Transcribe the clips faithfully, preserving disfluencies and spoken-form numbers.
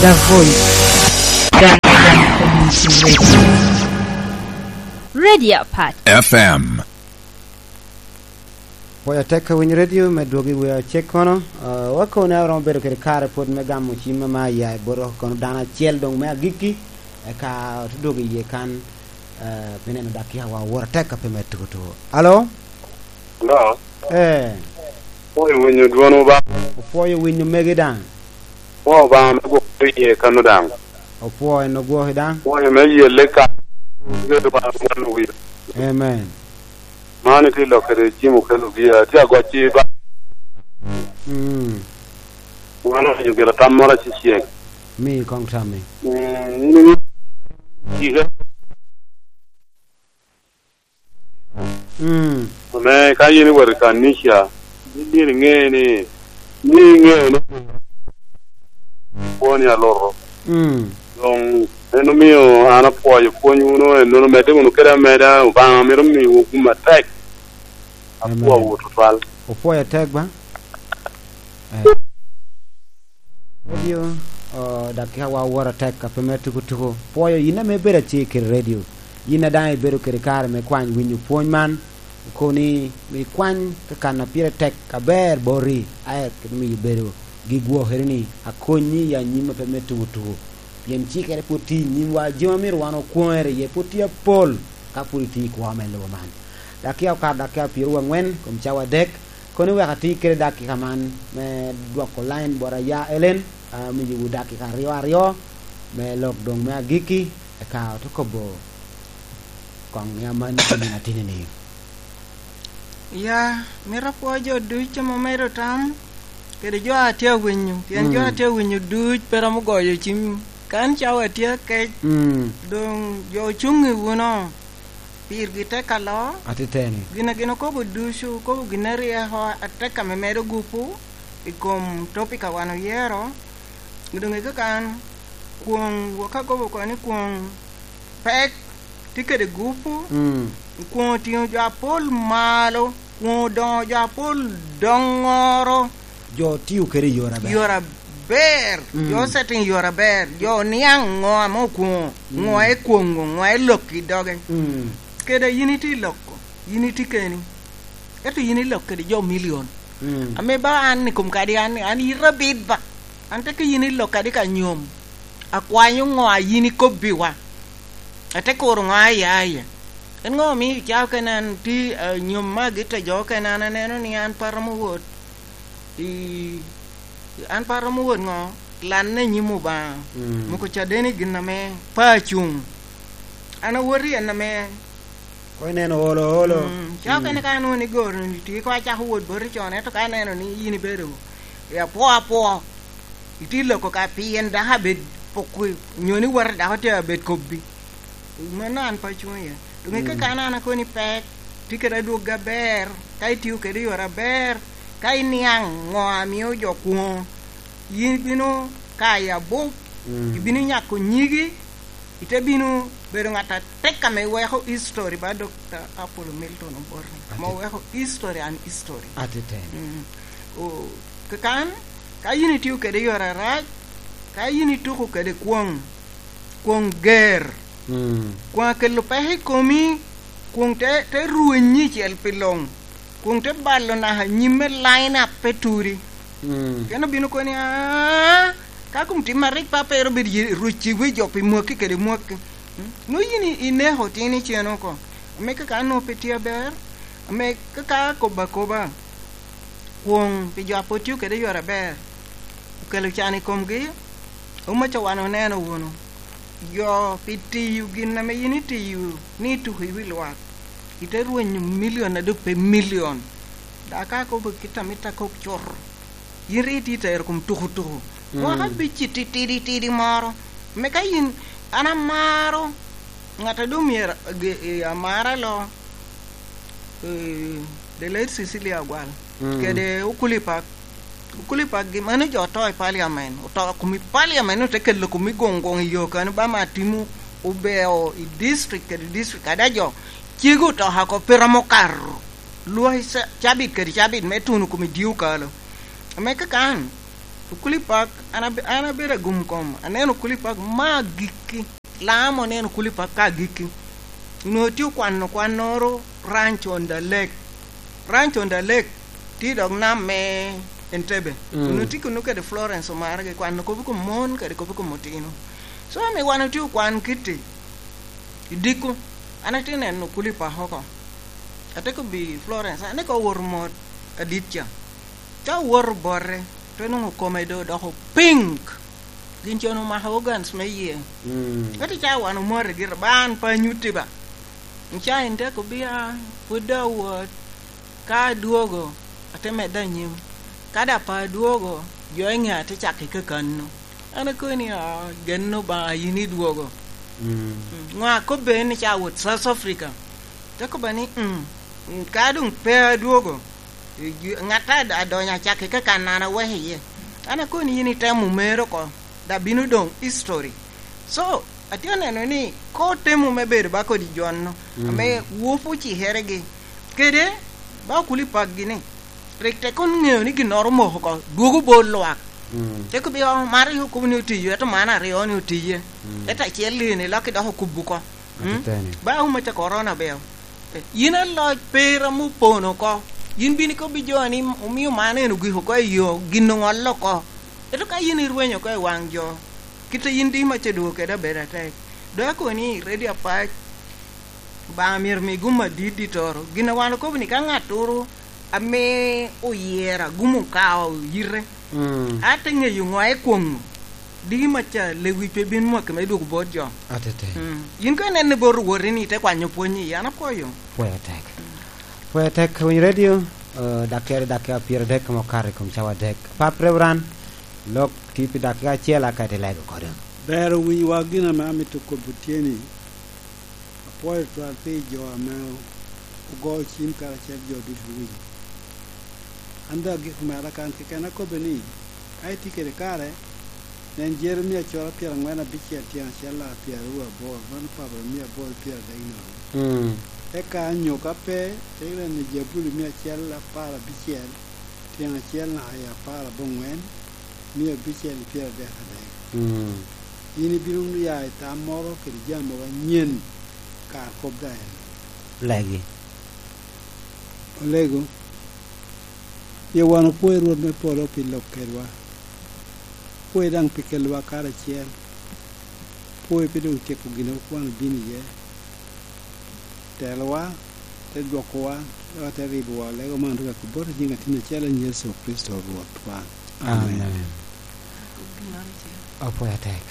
The Voice. Radio Pat. F M. Pwoyo atek a winyo radio me dwogo i wi acek kono. Ah, wakobo ni aromo bedo kede kare pwod me gamo cim ame aya i bot kono dano acel doŋ me agikki, eka ote dwogo iye kan, ah, pi neno dakika wa owor atek a pe me tuko tuko. Alo? Alo? Eh. Pwoyo winyo dwon Obaŋa. Opwoyo winyo megi daŋ. Pwoyo Obaŋa me gwoko iye kano daŋ. Opwoyo en ogwoki daŋ. Pwoyo me yelle ka. Amen. Man itye lok kede cim okelo gia. Tye agocci ba. Mm. Wan owaco gire tam moro acecek. Mi koŋ tammi. Mm, in iwinyo cike. Mm. Ame ka yin iwot i kanica, yin myero iŋe ni, ni iŋeo ni pwony aluto. Mm. Doŋ en omio an apwoyo pwony wunu, ennono medde wunu kede ameda, Obaŋa mito miwu gum atek. Amen. Apwoyowu tutwal. Opwoyo atek ba? Eh. Radio, oh, dakika wa oworo atek, a pe me tuko tuko. Pwoyo yin ame ibedo acer kede radio. Yin a daŋ ibedo kede kare me kwany winyo pwony man, okobo ni ikwany ka kan a pire tek aber boti, aye kede miyo bedo gi gwokere ni akonyi i anyim a pe me tuko tuko. Pien cikere pwod tye i nyimwa, jami a myero wan okwoŋere iye pwod tye apol ka pwod itye i kwo me lobo man. Dakika okato dakika pyeraryo angwen kom cawa adek, kono wek ati kede dakika man me dwoko line bot aya Ellen, amiyowu dakika aryo aryo me lok doŋ me agikki, eka ote kobo koŋ i amanni pi nino atini-ni. Ya, mito apwo jo ducu ame omedo tam, kede jo a tye awinyo, pien jo a tye awinyo ducu pe romo goyo cim. Kan cawa tye akec, mm, doŋ jo ocuŋ i wuno. Pirgi tek aloo. Atiteni. Gin a gin okobo ducu, okobo gin a ryeko atek ame medo gupu i kom topic a wan oyero. Doŋ i kakan, kwoŋ, wok akobo kono ni kwoŋ pek tye kede gupu, mm, kwoŋ otingo jo apol malo, kwoŋ odoŋo jo apol doŋoro. Jo tio kede i yore aber. Yore aber. Mm. Jo setting yore aber. Jo niaŋ ŋo ame okwoŋo, mm, ŋo ekwoŋo, ŋo elok i doge. Mm. Kede yin itye i loko, yin itye keni. Ento yin ilok kede jo milion. Mm. Ame ba an i kom kadi an, an ita abit ba. An te ka yin ilok kadi ka nyom. Akwanyo ŋo a yin ikobbiwa? Ate kuro ŋo a iya iye? En ŋo omio ca okene an tye, eh, nyom me agit a jo okene an aneno ni an pe aromo wot i, an pe aromo wot ŋo? Lanne i nyim Obaŋa. Mm. Moko caden i gin ame pe acuŋ. An awot i en ame Koŋ ineno olo, olo. Mm, ca okene ka anwoŋo ni goro-ni tye, koŋ acako wot boti con, ento ka aneno ni yin ibedo i apwo apwo, itye loko ka pien dako abed poko, onyo ni wot dako tye abed kobbi. Mano an pe acung iye. Doŋ i, mm, kakan an akoni pek, tye kede adwoggi aber, ka itio kede i yore aber, ka iniaŋ ŋo a mio jo kwoŋo, yin ibino kayo abup, mm, ibino nyako nyigi, ite bino bedo ŋat atek ame weko history ba Dokta Apollo Milton Obote, ame oweko history and history. Atiteni. Mm. O, kakan, ka yin itio kede yore arac, ka yin ituko kede kwoŋ, kwoŋ ger, mm, kwoŋ akelo peko i komi, kwoŋ te, te rwenyi icel pi luŋ. Kun te balo naka nyim me line up pe turi. Mm. Pien obino koni, "Aa, ka kom tim arik pa pe ero bedo ye, rwec ciwi jo pi mwaki kede mwaki." Mm. Nwo yin i, ineko tin icen oko. Ame kaka an nwo pe tye aber, ame kaka akobo akoba, kwoŋ pi jo a pwod tye kede yore aber, okelo can i komgi. Omaca wan oneno wunu, jo pi tiyo gin ame yin itiyo ni ituko i wi lwak, ite rwenyo milion a dok pe milion. Dok ka akobo kit a mitte akok cut, yin rik itye tero kom tukutuku. Mm. Mwaka abic-ci titidi tidi moro, me ka yin, an amaro ŋat a doŋ myero age-, e, amara lo, eh, the late Cecilia Agwal, mm, kede Okuli Pak. Okuli Pak gi, mano jo oto i parliament, oto kom i parliament, ote kelo kom i goŋ goŋ i yo kano ba ma timo obeo i district kede district, ada jo cego oto oko pe romo kato lwak i ca-, cabit kede cabit me tuno kom i dye okalo. Ame kakan, Okuli Park, an abe-, an abedo agum kom, aneno Okuli Park me agikki. Laam oneno Okuli Park ka agikki. Onwoŋo tye okwano kwannoro Ranch on the Lake. Ranch on the Lake tye i dog nam me Entebbe. Mm. Onwoŋo tye kunnu kede Florence Omargi, kwano kop i kom mon kede kop i kom otino. So, ame wan otye okwan kitti i dikku, an atye neno Okuli Park oko. Ate kobbi Florence, an eka owoto mot adit ca. Ka owoto bote, te nwoŋo kome doŋ odoko pink. Gin con omako organs me yie. Mm. Ento ca wan omote gira, ba an pe anyutti ba. Ca en te kobbi, "Ah, pwod doŋ awot. Ka adwogo, ate medde anyim. Ka daŋ pe adwogo, jo i ŋea te cako i kakano." An akobo ni, "Ah, gen Obaŋa, yin idwogo." Mm. Mm, ŋo akobbe ni ca awot South Africa? Te kobba ni, "Mm, mm, ka doŋ pe adwogo, ŋat a, adonyo acakki ka kan an aweko iye." An akobo ni yin itemo mere oko, da bino doŋ history. So, atye aneno ni ka otemo me bedo ba kodi jo-nu, mm, ame wopo ocikeregi, kede ba Okuli Park-gi ni, rik tek koŋ ŋeo ni ginnoro omoko oko, dwogo bot lwak. Mm. Te kobbi, "Oh, man rik okobo ni otiyo, ento man aryo ni otiye." Mm. Ento acel ni lok idok okubo oko. Mm? Atiteni. Ba wun me te korona beo. Eh, yin aloc per ame opono oko. Yin bino ikobbi jo ni omio man en ogik oko i yo, gin oŋolle oko. Ento ka yin irwenyo oko i waŋ jo, kit a yin di ma ce dwogo kede abedo atek. Dok akoni, ready apac, Obaŋa myero mi gum adit ditoro. Gin a wan okobo ni ka ŋattoro ame oyero agum okao yite, mm, ate ŋeyo ŋo ekwoŋo. Diki maca lewic pe bin mwaki me dwogo bot jo. Atete. Mm. Yin ka inenne bot Rwoti ni ite kwanyo pwony i, an apwoyo. Pwoyo tek. Pwoyo tek, Winyo Radio, eh, dakere dakika pyeradek ma okato i kom cawa adek. Pap Reverend, lok tye pi dakika acel aka ite lego kodi. Ber owinyowa gin ame amito kobo tye ni, apwoyo twal pi jo ame o-, ogo cim karacel jo ducu owinyo. An daŋ agiko mera kan keken akobbe ni, ka itye kede kare, nen Jeremia coro pyeraŋwen abicel tyen acel naka pyeraryo aboro, mano Papa mia aboro pyeradek nono. Mm. Eka anyo ka pe, te neno Jabuli mia acel apar abicel, tyen acel naka i apar aboŋwen, mia abicel i pyeradek adek. Mm. Yin ibino wunu ya i tam moro kede jami mogo anyen, kar kop daŋ en. Legi. Olego, pien wan opwoyo Rwot me polo pi lok kedwa. Pwoyo daŋ pi kelowa karacel. Pwoyo pi doŋ tyeko gin a wan obino iye. Telowa, te dwokowa, eka te ribowa. Lego man rik akobbi bot i nyiŋ Atin acel en Yecu Kricito Rwotwa. Amen. Amen. Apwoyo atek.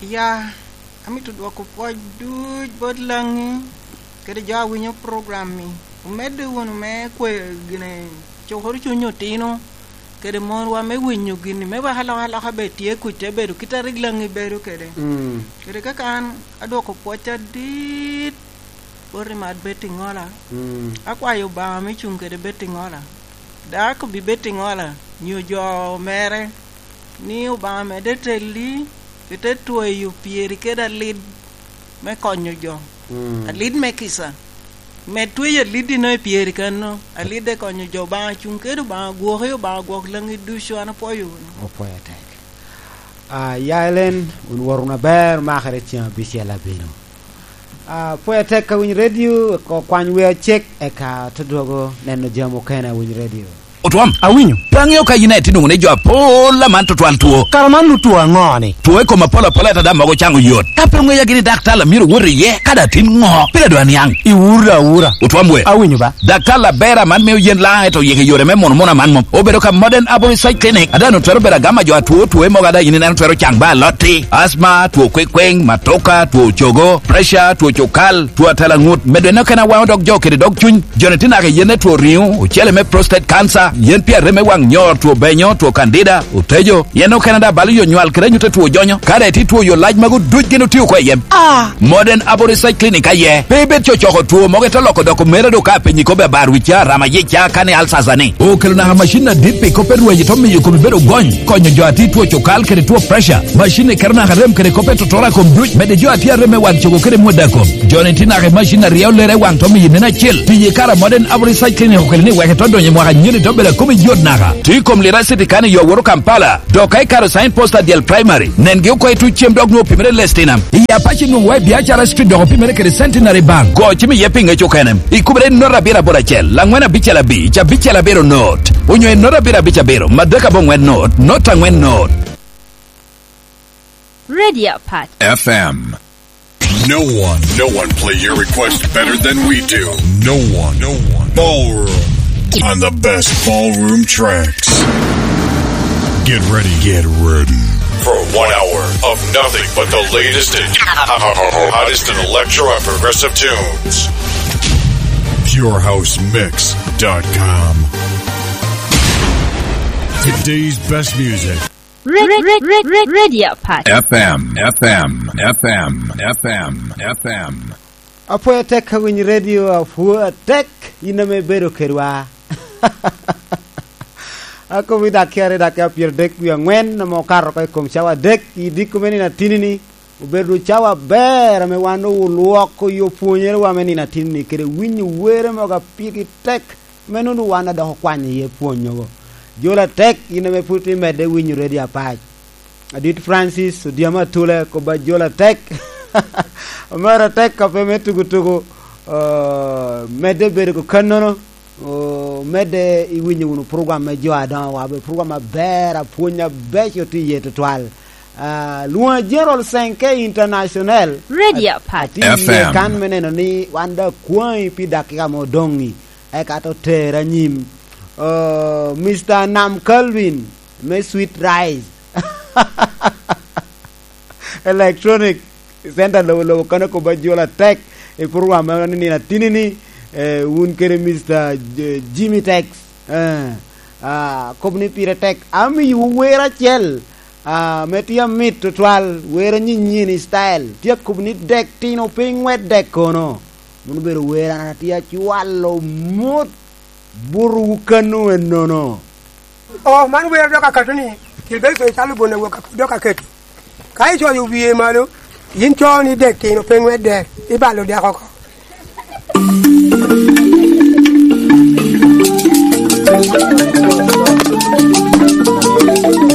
Ya, amito dwoko pwoc duc bot Laŋi kede jo a winyo program-mi. Omedde wunu me kwe-, gine, cukoro cuny otino kede monwa me winyo gin-ni, me wek alokaloka bed tye kuc, te bedo kit a rik Laŋi bedo kede. Mm. Kede kaka an adwoko pwoc adit bot Imat Betty Ŋola. Mm. Akwayo Obaŋa me cuŋ kede Betty Ŋola. Dok akobbi Betty Ŋola, nyo jo mere, ni Obaŋa medde telli, ite tweyo pyeri kede alid me konyo jo. Mm. Alid me kica. Med tweyo aliddi-no i pyeri kanno. Alidde konyo jo. Obaŋa cuŋ kede, Obaŋa gwoki, Obaŋa gwok Laŋi ducu, an apwoyo wunu. Opwoyo atek. Ah, ya Elen, wun wot wunu aber, makere ceŋ abicel abino. Ah, pwod atek ka winyo redio, ko kwany wer acek, eka te dwogo neno jami okene a winyo redio. Otwom, awinyo. Pe aŋeo ka yin aye itye nwoŋo ni jo apol aman tutwal two. Kara man nu two aŋo ni? Two i kom apol apol, ento daŋ mogo caŋo yot. Ka pe oŋeya gini daktar a myero wot iye, ka daŋ tin ŋo? Pire doŋ aniaŋ. Iwura awura. Otwom we. Awinyo ba. Daktar aber aman mio yen laŋ, ento yik i yore me muno muno aman mom. Obedo ka Modern Aboriginal Clinic, a daŋ twero bedo agama jo atwo, two mogo a daŋ yin ineno twero caŋ ba alotti, asma, two kwekweŋ, matoka, two cogo, pressure, two cukal, two atalaŋut, medo en okene awaŋo dog jo kede dog cuny. Joni tye naka i yen me two riŋo, ocele me prostate cancer, yen pi arem me waŋ nyor, two benyo, two candida, otejo, yen okene daŋ balo yo nywal kede anyut a two jonyo. Ka daŋ itye two yo lac magu duc gin otio oko i yem. Ah! Modern Aboriginal Clinic aye. Pe ibed cocoko two mogo ite loko dok omera do ka apenyi kobbe abar wicca, rama yicca, kani alsasa ni. Okelo naka macin adit pi kop me rweny ite miyo komi bedo gony, konyo jo a tye two cukal kede two pressure. Macin ni keto naka rem kede kop me totora kom duc, medo jo a tye arem me wan cogo kede mwada kom. Joni tye naka i macin a ryeo lere i waŋ to miyo neno acel. Tiye kara Modern Aboriginal Clinic okelo ni wek ito donyo i mwaka anyira ito bedo Kome yot naka. Tye i kom Lira City kan i yo woro Kampala. Dok ka ikaro sign post adyel primary, nengi oko i tuc cem dok nwoŋo opimere Lestinam. I Apac nwoŋo wa i Biacara Street dok opimere kede Centenary Bank. Go cim iye pi ŋec okene. Ikubere i not abiro aboro acel, laŋwen abicel abic, abicel abiro not. Onyo i not abiro abic abiro, madek aboŋwen not, not aŋwen not. Radio Pat. F M. No one, no one play your request better than we do. No one, no one. Ballroom on the best ballroom tracks. Get ready, get ready for one hour of nothing but the latest and hottest in electro and progressive tunes. Pure House Mix dot com. Today's best music. Re-, re-, re-, re-, Radio Pat. F M, F M, F M, F M, F M. Apwoyo atek ka winyo redio, apwoyo atek in ame ibedo kedwa. Akobo i dakika aryo, dakika pyeradek wie aŋwen ame okato oko i kom cawa adek i diko me nino atinni-ni, obedo cawa aber ame wan olwoko yo pwonyerewa me nino atinni kede winyo were mogo apigi tek. Meno onwoŋo wan adok okwanyo iye pwonyogo. Jolo atek, in ame pwod imedde winyo redio Apac. Adit Francis Odyamo Atula, kobba jolo atek. Omero atek kape me tugu tugu, eh, medde bedo ko kannono, oh, medde iwinyo wunu program me jo adoŋo wa, be program aber, apwony abeco tye iye tutwal. Ah, lwoŋa General Senke International. Radio At-, Apac. Atye iye F M. Kan me neno ni wan daŋ akwaŋi pi dakika mo odoŋ-ŋi. Eka te oter anyim. Oh, Mister Nam Calvin me Sweet Rice Electronic Center lobo lobo kano kobba jolo atek i program me nino atinni-ni, eh, wun kede Mister J-, Jimmy Tex. Eh, ah, kop ni pire tek. Amiyowu wer acel, ah, ame tye amit tutwal, wer anyinyini style. Tye akobo ni dek tino pe iŋwed dek kono. Mano obedo wer an atye acwalo mot buto wu kano ennono. Oh, man wer dok akato ni, Gilberto Icalo Bon Awok dok aketo. Ka icoyo wie malo, yin co ni dek tino pe ŋwedde, ibalo dek oko.